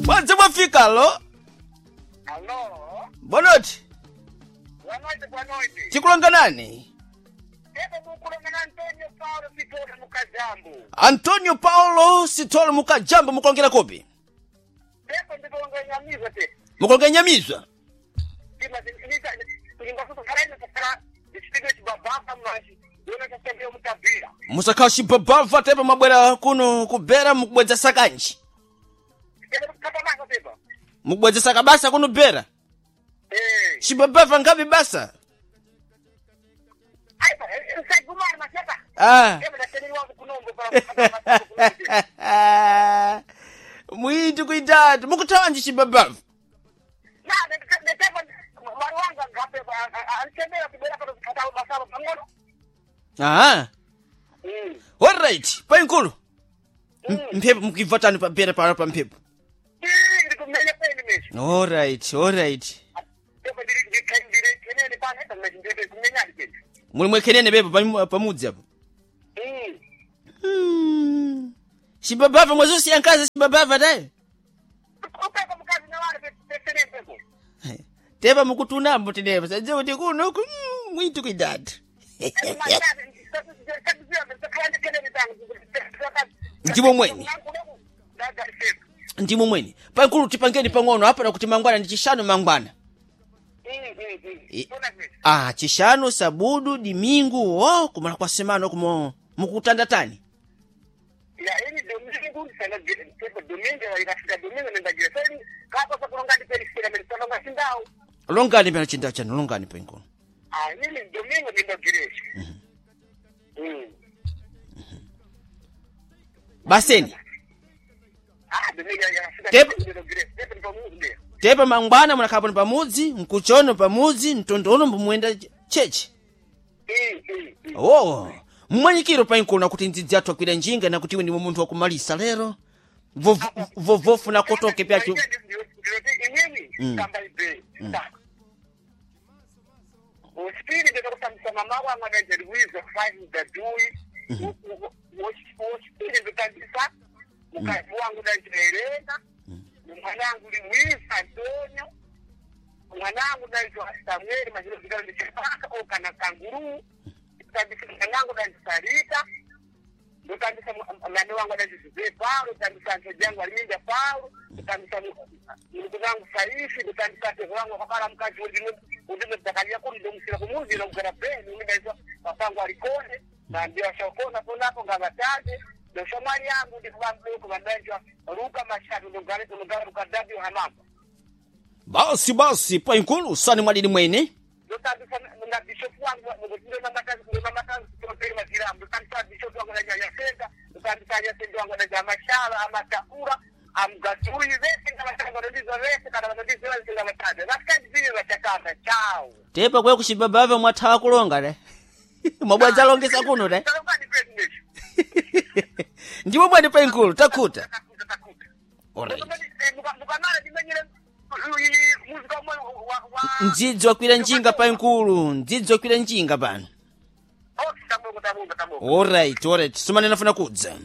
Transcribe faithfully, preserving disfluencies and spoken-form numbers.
Mwadze mwafika alo. Alo, Bonoti, boa noite, boa noite. tikulonga nani? Tepo mukulonga na Antonio Paulo Sitole Mukajambo. Antonio Paulo Sitolo Mukajambo mukulongera kupi? Tepo ndikulonga nyamizwa te. Mukulonga nyamizwa. Tima nita ndingafuta karaina takara ndichipige chibabaka mwachi. Yona tasembea mutabira. Musakhala chibabava tepo mwabwera kuno kubera mukubwedza sakanji. Tepo kapa basa tepo. Mukubwedza saka basa kuno bera. Eh. Chibabava ngapi basa? Aipa, usagumana maseka. Ah. Tepo ndaseni wangu kunombo pa pa. Mwiti kuitatu mukuthawanji chibabava. Na tepo mwari wangu ngape ansemera kubera pa kata basalo pangono. Aha. Mm. Alright, painkulu. M- Mphepo mukibva tani pabera pano pa mphepo. Ii ndikumenya kwenu mesho. Alright, alright. Tepo ndiri ndiri kenene pana ndiri kumenya ndiri. Muli mwekhenene pepo pam- pamudzi apo. Mm. Hmm. Chibabava mwazosiya nkazi chibabava tayi. Upeko mukazi nawale pesenempeko. Tepa mukutunambo tenepo sadze kuti kuno ku mm, mwitu kuidatu. Ndimo mweni. Ndimo mweni. Pankulu tipangeni pang'ono apa nakuti mangwana ndi chishanu mangwana. I- Ah, chishanu sabudu dimingu oh kumala kwa semano kumo mukutanda tani. Ya ini domingo sana pepo domingo ikafika domingo nendagira seni kapa sakulonga ndiperisira menisalonga sindau. Longani pena chinda chanu longani penkulu. Ah ini domingo nendagiresha. Mm. Baseni. Ah domingo yakafika Tepo- nendagiresha pepo ndipamuzi. Tepa mangwana munakhapo ni pamudzi, mkuchono pamudzi, mtondono mbumuyenda chechi. Mm mm. mm. Oh, mmwanyikiro painkulu nakuti ndzidzi athu akwira njinga nakuti iwe ndiwe munthu wakumalisa lero. Vovo- Vovofu nakotoke pyacho. Ndinoti inini kamba ibe usipiri ndinokusambisa mama wangu anajerwiza five dadui wosipiri ndikandisa mukazi wangu najerena mwanangu liwiza Antonio mwanangu naitwa Samueli mazilozikalo ndichipaka okana kanguru ndikandisa mwanangu naisarita ndotambisa mwana wangu adazizize paulo ndotambisa nteji yangu alinda paulo ndotambisa muluku wangu saifi ndotambisa tezo wangu akakala mkazi undimedakalia kuni ndomusira kumuzi nokugara beni umindaizwa papangu alikone naambia shokona ponapo ngavataje ndoshamwali yangu ndikuvambuko vandaizwa ruka mashatu ndogare ndogara rukadabi hamamba Basi basi painkulu sani mwadidi mwene. ndotambisa na bishopu wangu ndonamatazioperi maziramu ndotambisa bishopu wangu najayasenga ndotambisa yasenga wangu naja mashala amatakura amgaturi vese ngavatanga vanondizwa vese kana vanondizwa vese ngavataja vasikandizile vachakamba chao Tepa kwe kuchibabava mwathawa kulonga le. Mwabwadza longesa kuno le. Ndimo mwene painkulu takhuta. Takuta takuta Alright. mukamala ndimenyere muzika umwe wa Ndzidzi wakwira njinga painkulu, ndzidzi wakwira njinga pano. okay tabongo tabongo tabongo Alright, alright. Sumane nafuna kudza.